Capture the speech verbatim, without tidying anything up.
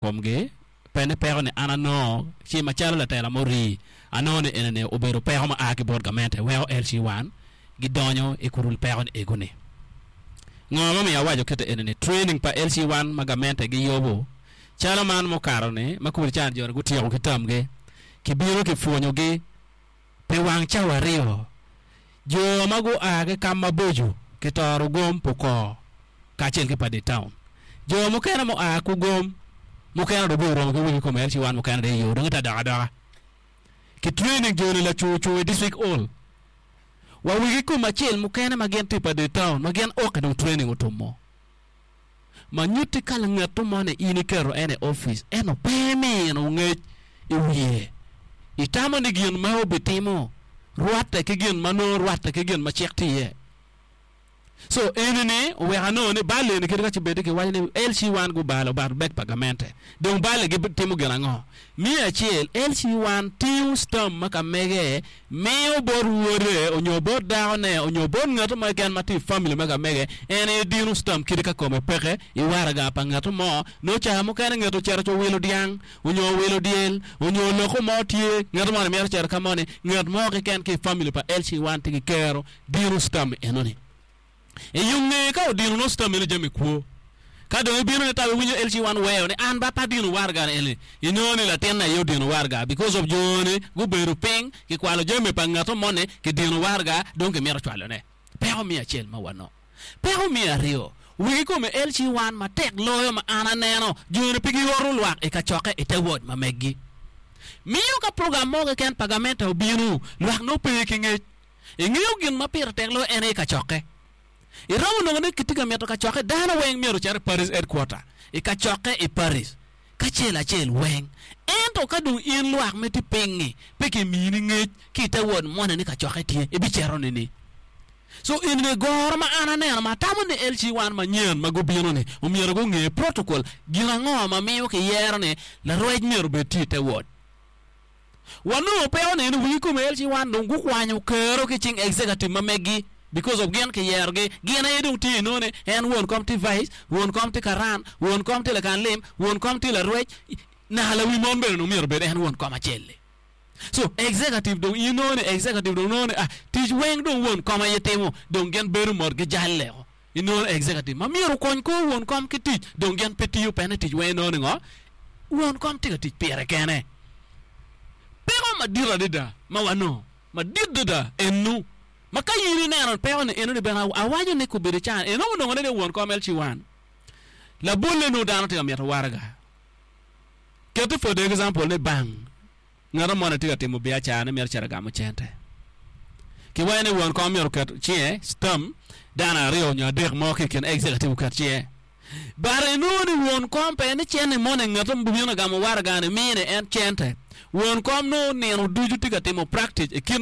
Komgi pe ni peko ni an anongo ci macalo latela murii anongo ni enini obedo peko ma a ki bot gamente weko L C one gidonyo i kurul peko ni ego ni. Ngo ma omiyo awaco kite enini training pa L C one ma gamente giyubo calo man mukato ni ma kudi can joni gutyeko ki tamgi kibino kipwonyogi pi wang cawa aryo jo ma gua ki kam maboco kitoro gom pukor kacel ki pa di town jo mukene mua ku gom mukene dong guromo ki wigi kome L C one mukene dong iyo dong ite dok adoka ki training joni lacucu i district hall wa wigi kom acel mukene ma gin tye pa di town ma gin oke dong training otumo ma nyutti ka langatto mo ni in iketo en i office ento pe imino ngec i wiye itamo ni gin ma obitimo rwatte ki gin ma nongo rwatte ki gin ma cik tye iye. So enini oweko anongo ni bal eni kadi ka ci bedi kiwaco ni L C one gubalo but bek pa gamente dong bal gitimo gin ango? Me acel, L C one tingo stamp ma ka mege miyo bot wode onyo bot dakone onyo bot ngat mo keken ma tye i family ma ka mege. En aye dino stamp kadi ka kome peke i waraga pa ngat mo. Nongo cawa mukene ngat ocito owilo dyang onyo owilo dyel onyo loko mo tye ngat mo ni mito cito ka mo ni ngat mo keken ki i family pa L C one tye ki kero dino stamp enoni i yo ngeye. Ka odino nongo stamp eno jami kwo ka dong ibino ni tabi winyo L C one weyo ni an ba pe adino waraga ni eni inongo ni latinne aye odino waraga because of joni gubedo piny kikwalo jami pa ngat moni kidino waraga dong kimito cwalone. Peko me acel ma wanongo. Peko me aryo, wigi kome L C one matek loyo ma an aneno joni pe gioro lwak i kacokke i te ward ma meggi miyo ka program mo keken pa gamente obino lwak nongo pe ki ngec ingeyo gin ma pire tek loyo en aye kacokke. Iromo nongo ni kitye ka mito kacokke dano weng myero ocit i parish headquarter i kacokke i parish kacel acel weng, ento ka dong in lwak me tye piny-ngi pe kimini ngec ki i te ward moni ni kacokke tye ibicito nini. So enini goro ma an aneno ma atamo ni L C one manyen ma gubino ni omyero gunge protocol gin ango ma miyo kiyero ni larwec myero obed tye i te ward. Wanongo peko ni wigi kome L C one dong gukwanyo kero ki cing executive ma meggi because of gin kiyerogi gin aye dong tye inongo ni en won kom tye vice won kom tye karan won kom tye lakan lim won kom tye larwec naka lawi mon bene dong myero obed en won kom acel-li. So executive dong inongo ni executive dong nongo ni ah tic weng dong won kom aye timo dong gin bedo mot gijalleo inongo executive ma myero okony kor won kom ki tic dong gin pe tiyo pene tic weng inongo ni ngo won kom tye ka tic pire kene. Peko madit adada ma wanongo madit adada enu ma ka in ineno peko ni enoni bene awaco ni kobedo can eno onongo ni won kom L C one labolle nongo dano tye ka mito waraga keti for the example ni bank ngat mo ni tye ka timo biacara ni mito cito gamo cente kiwaco ni won kom myero oket cinge stamp dano aryo nyo adek mo ki i kin executive oket cinge but inongo ni won kom pe ni cente moni ngat mo bino gamo waraga ni mine en cente won kom nongo nino ducu tye ka timo practice i kin